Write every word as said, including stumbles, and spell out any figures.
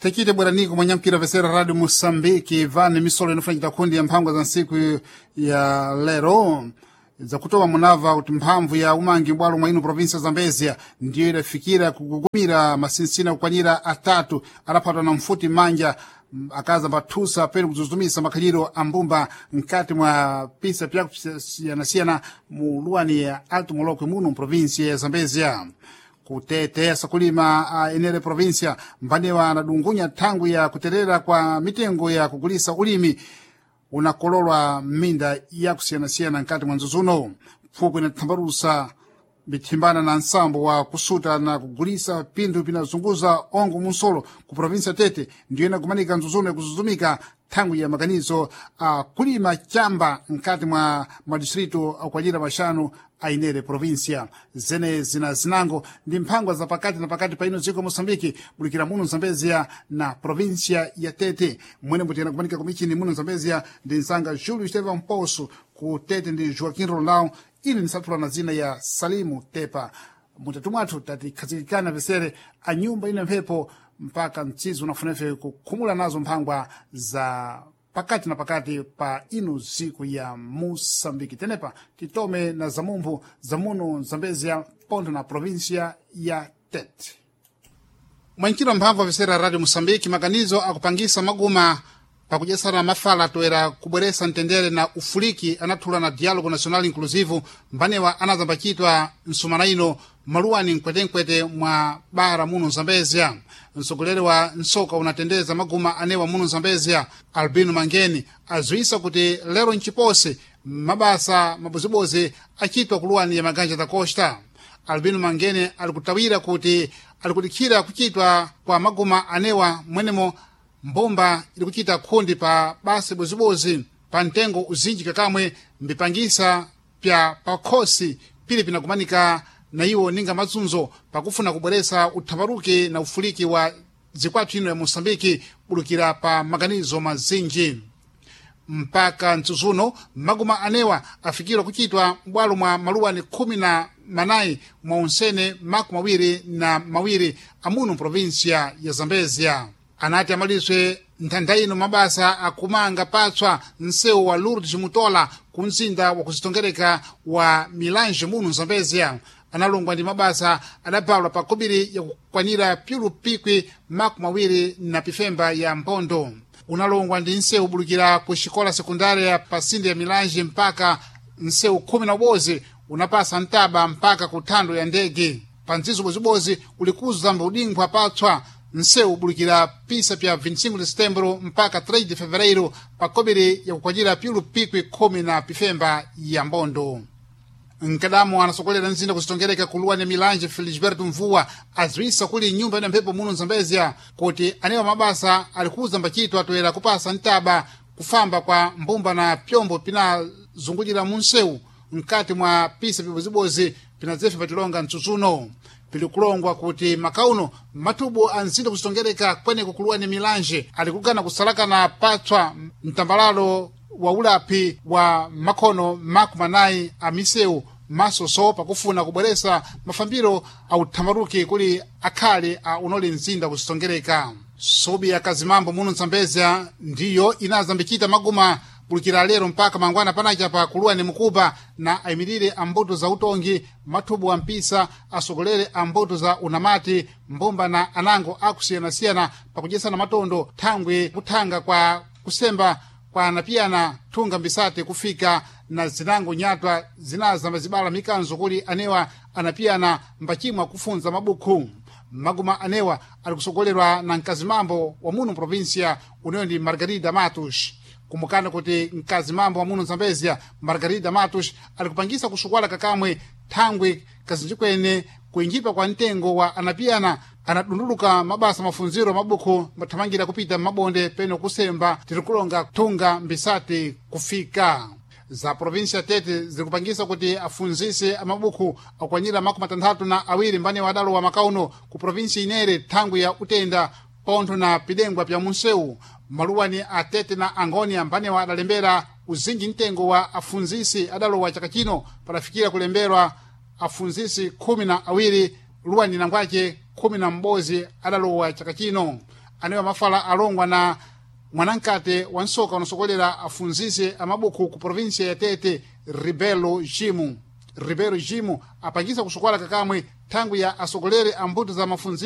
Tekite bweraniko mwanyampira vesera Radio Mosambiki vane misolo inofanyika kundi ya mphangwa za ntsiku ya lero zakutowa munava kuti mphamvu ya umangi mbwalo mwa ino provinsia Zambezia ndiyo idafikira kugugumira masinsina kukwanira atatu adaphatwa na mfuti manja akaza mpathusa pene kudzuzumisa makhaliro a mbumba mkati mwa pisa pyakusiyanasiyana mu luwani ya Alto Molokwe muno mprovinsia ya Zambezia. Kutete sakulima a enere provinsia mbanewa anadungunya thangwi ya kuterera kwa mitengo ya kugulisa ulimi unakololwa minda yakusiyanasiyana nkati mwa nzuzuno. Pfukwe inathambalusa mithimbana na nsambo wa kusuta na kugulisa pinthu pinazunguza ongo munsolo ku provinsia Tete ndiyo inakumanika nzuzuno yakuzuzumika thangwi ya makanizo a kulima chamba nkati mwa madistritu akwanyira maxanu a inere provinsia. Zene zina zinango ndi mphangwa za pakati na pakati pa ino dziko Moçambike bulikira muno Zambezia na provinsia ya Tete. Mwene mbuti anakumanika kumichini muno Zambezia ndi msanga Júlio Estevam Poço, ku Tete ndi Joaquim Rolão. Ili nisathula na zina ya Salimu Tepa. Mutatu mwathu tatikhazikikana vesere a nyumba ina mphepo mpaka mtsizi unafunefe kukhumula nazo mphangwa za pakati na pakati pa ino ziku ya Moçambike. Tenepa titome na zamumphu zamuno Zambezia pontho na provinsia ya Tete. Mwanchiro mphamvu avesera Radio Moçambike maganizo akupangisa maguma pakudyesana mafala toera kubweresa mtendere na ufuliki anathula na Diálogo Nacional Inclusivo mbanewa anazambachitwa msumana ino maluwani mkwetenkwete mwa bara muno Zambezia. Mtsogoleri wa nsoka unatendeza maguma anewa muno Zambezia Albino Mangeni aziwisa kuti lero mchipose mabasa mabozibozi achitwa kuluwani ya Maganja da Costa. Albino Mangeni alikutawira kuti alikudikhira kuchitwa kwa maguma anewa mwenemo mbumba ili kuchita khundi pa basi bozibozi pa mtengo uzinji kakamwe mbipangisa pya pakhosi pili pinakumanika na iwo ninga mazunzo pakufuna kubweresa uthambaruki na ufuliki wa zikwathu ino ya Moçambike bulukira pa maganizo mazinji. Mpaka mtsutsuno maguma anewa afikirwa kuchitwa m'bwalo mwa maluwani khumi na manayi mwa unsene makumi mawiri na mawiri amuno provinsia ya Zambezia. Anati amaliswe nthantha ino mabasa akumanga patswa msewu wa Lourdes Mutola ku mzinda wakuzitongereka wa Milange muno Zambezia. Analongwa ndi mabasa adapalwa pa kobiri yakukwanira pyulu pikwi makumi mawiri na pifemba ya mpondo. Unalongwa ndi nsewu bulukira ku xikola sekundária pa sinde ya Milange mpaka nsewu khumi na ubozi unapasa ntaba mpaka ku thando ya ndege. Pa mdzizo bozibozi ulikuza mbudinkhwa patswa nsewu bulukira pisa pya vinte e cinco de setembro mpaka três de fevereiro pa kobiri yakukwanyira pyulu pikwi khumi na pifemba ya mbondo. Nkadamo anasokolera mzinda kuzitongereka kuluwa ne Milanje Felisberto Mvua aziwisa kuli nyumba ina mphepo muno Zambezia kuti anewa mabasa alikuza mbachitwa atoera kupasa ntaba kufamba kwa mbumba na pyombo pinazungulira munsewu mkati mwa pisa pibozibozi pinadzefe patilonga mtsutsuno. Pilikulongwa kuti makauno matubu a mzinda kuzitongereka kweneko kuluwa ne Milanje alikugana kusalakana patswa mtambalalo wa ulapi wa makhono makumi manayi a misewu masoso pakufuna kubweresa mafambiro a uthambaruki kuli akhale a unoli mzinda kuzitongereka. Sobi ya kazimambo muno Zambezia ndiyo inazambichita maguma bulukira lero mpaka mangwana panacha pa kuluwa ni mukuba na ayimirire a mbuto za utongi mathubu a mpisa asogolere a mbuto za unamati mbumba na anango akusiyanasiyana pakudyesana matondo thangwi kuthanga kwa kusemba kwa anapiyana thunga mbisati kufika na zinango nyatwa zinaza mazibala mikanzo kuli anewa anapiyana mbachimwa kufunza mabukhu. Maguma anewa alikusogolerwa na mkazimambo wa muno provinsia uneyo ndi Margarida Matos. Kumukana kuti mkazimambo wa muno Zambezia Margarida Matos alikupangisa kusukwala kakamwe thangwi kazinji kwene kuinjipa kwa mtengo wa anapiyana anadunduluka mabasa mafunziro mabukhu mathamangira kupita mabonde peno kusemba tirikulonga thunga mbisati kufika za provinsia Tete zikupangisa kuti afunzise amabukhu akwanyira makumi atanthatu na awiri mbane wadalo wa makauno ku provinsia inere thangwi ya utenda pontho na pidengwa pya munsewu. Maluwani a Tete na Angonia mbanewa adalembera uzinji mtengo wa afunzisi adalowa chaka chino padafikira kulemberwa afunzisi khumi na awiri luwani nangwace khumi na m'bodzi adalowa chaka chino. anewa mafala alongwa na mwanankate wa nsoka unasokolera afunzise amabuku ku provinsia ya Tete, Ribelo Jimu. Ribeiro Jimu apangisa kusokola kakamwe thangwi ya asokolere ambuto za mafunziro.